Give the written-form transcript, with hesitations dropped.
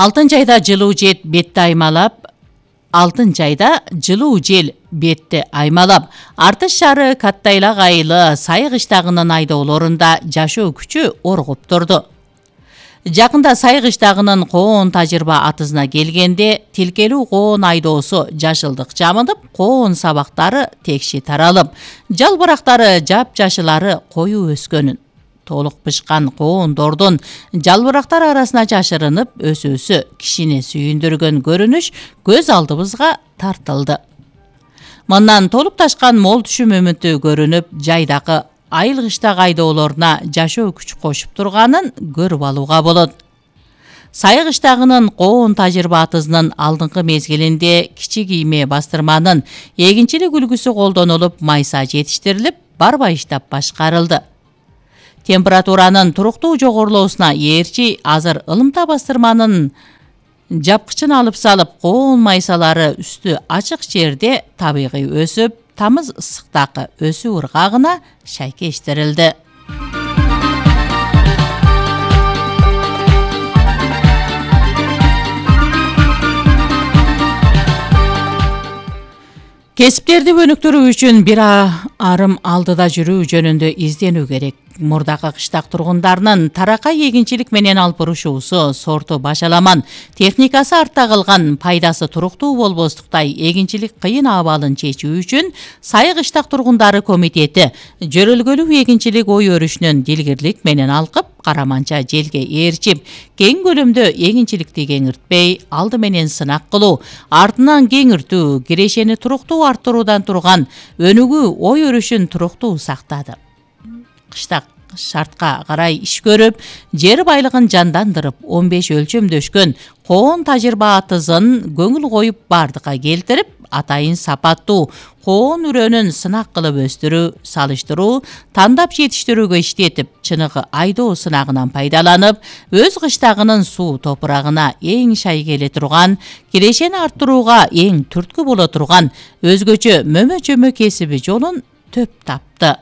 Алтын жайда жылуу жел бетти аймалап, Артыш шаары Каттайлак айылы Сайы кыштагынын айдоолорунда жашоо күчү оргуп турду. Жакында Сайы кыштагынын коон тажырба атызына келгенде, тилкелүү коон айдоосу жашылдык жамылып, коон сабактары текши таралып, жалбырактары жап-жашылары коюу өскөнүн, толук бышкан коондордун жалбырактар арасына жашырынып өсүүсү кишини сүйүндүргөн көрүнүш көз алдыбызга тартылды. Мындан толуп ташкан мол түшүм үмүтү көрүнүп, жайдагы айыл кыштак айдоолоруна жашоо күч кошуп турганын көрүп алууга болот. Сайы кыштагынын коон тажырба атызынын алдыңкы мезгилинде кичи кийме бастырманын эгинчилик үлгүсү колдонулуп, майса жетиштирилип, барба иштап башкарылды. Температуранын туруктуу жогорулоосуна ээрчи азыр ылымта бастырманын жапкычын алып салып, коон майсалары үстү ачык жерде табигый өсүп, тамыз ысыктагы өсүү ыргагына шайкештирилди. Кесиптерди өнүктүрүү үчүн бир арым алдыда жүрүү жөнүндө изденүү керек. Мурдагы кыштак тургундарынын таракай эгинчилик менен алып бурушуусу, сорту башаламан, техникасы артта калган, пайдасы туруктуу болбостуктай эгинчилик кыйын абалын чечүү үчүн Сайы кыштак тургундары комитети жөрөлгөлүү эгинчилик ой өрүшүнөн дилгирлик менен алкып, караманча желге ээрчип, кең көлөмдө эгинчиликти кеңиртпей, алды менен сынак кылуу, артынан кеңиртүү, кирешени туруктуу арттыруудан турган өнүгүү ой өрүшүн туруктуу сактады. Кыштак шартка карай иш көрүп, жер байлыгын жандандырып, 15 өлчөмдөшкөн коон тажырба атызын көңүл коюп бардыкка келтирип, атайын сапаттуу коон үрөнүн сынак кылып өстүрүү, салыштыруу, тандап жетиштирүүгө иштетип, чыныгы айдоо сынагынан пайдаланып, өз кыштагынын суу топурагына эң шай келе турган, кирешени арттырууга эң түрткү боло турган өзгөчө мөмө-чөмө кесиби жолун төп тапты.